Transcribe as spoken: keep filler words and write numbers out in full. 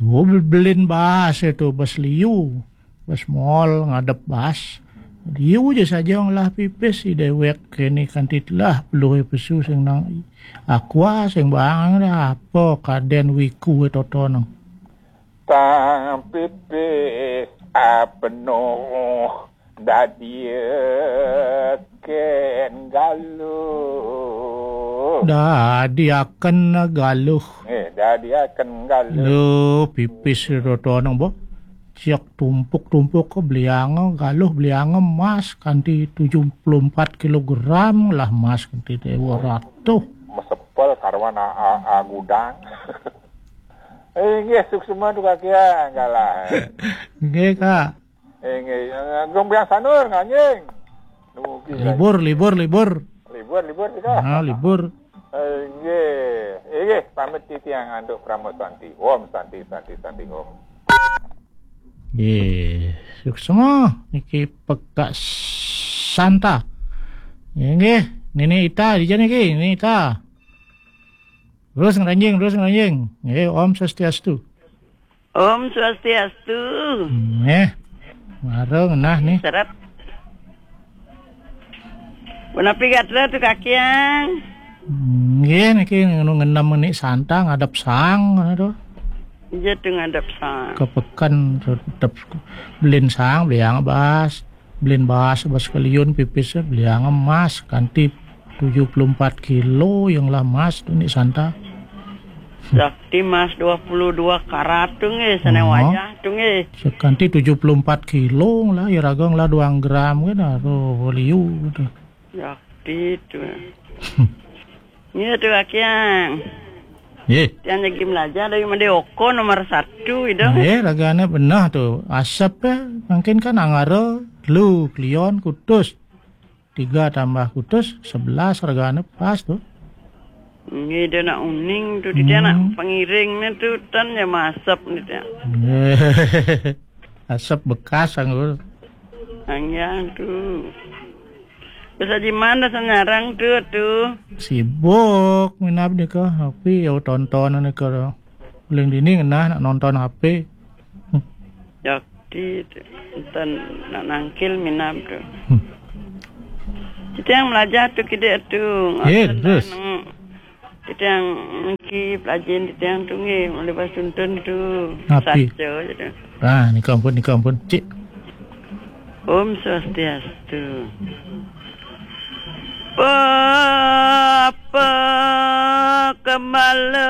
Oh, be-, belin bas itu, bas liu. Bas mall ngadep bas. Liu ja saja ngelah pipis, i dewek kene kanti telah peluh pesu sing nang Aqua, sing bang dah apa kaden wiku totoneng. Tang pipis apenuh dadi ken galuh. Dadi aken galuh. Eh, dadi aken galuh. Duh, pipis totoneng, bo. Siak tumpuk-tumpuk ke beliang galuh, beliang emas kanti tujuh puluh empat kilogram lah emas kanti dewa ratuh. Mesepel karwan a, a, a gudang. Eh, nggih, suksma tu kakian, galah. Nggih, Kak. Eh, nggih, eh, Agung Biang Sanur, nganjing. Nugi lagi. Libur, libur, libur. Libur, libur, kita. Ah, libur. Eh, nggih. Eh, nggih, pamit titiang antuk Parama Santi. Om Santi, Santi, Santi, Om. Nggih, suksma niki Pekak Santa. Nggih, nggih. Nini Ita, dija niki, Nini Ita. Terus ngeranjing, terus ngeranjing. Nggih, Om Swastiastu. Om Swastiastu. Nggih. Mara ngenah nih. Seret. Punapi gatra tu kakiang? Nggih, niki ngenu ngenem ni Santa ngadep sang, ngono tu. Iya tu ngadep sang. Ke peken tetep belin sang, beliang bas. Belin bas, bas keliun pipis, beliang emas kanti tujuh puluh empat kilo yang lah emas tu ni Santa. Sakti emas dua puluh dua karat tu nggih, sana Oh. wayah tu nggih. Sekanti tujuh puluh empat kilo lah, ya raga lah dua gram ke dah tu, liu tu. Sakti tu. Iya tu kakiang. Nggih. Tiang jagi belajar dari Made Oko nomor satu itu. Nggih, ragane benah tu. Asep eh, mungkin kan angara, lu, klion, kutus. Tiga tambah kutus, sebelas ragane pas tu. Nggih, dia nak uning tu, dia nak Hmm. pengiring ni tu, tan ya masep ni dia. Nggih. Asep bekas anggur. Anjang tu. Bisa di mana senyarang tu, tu? Sibuk, minap ni ke, tapi ya tonton ni ke. Paling dini ngenah nak nonton H P. Yakti tu. Tan nak nangkil minap tu. Hmm. Kita yang belajar tu, kita tu. Eh, Ngasan terus. Nang, kita yang nangki pelajin, kita yang tu nggih, mulai pas tuntun tu. Api. Saja je tu. Ah, ni ampun, ni ampun. Cik. Om Swastiastu. Apa kembala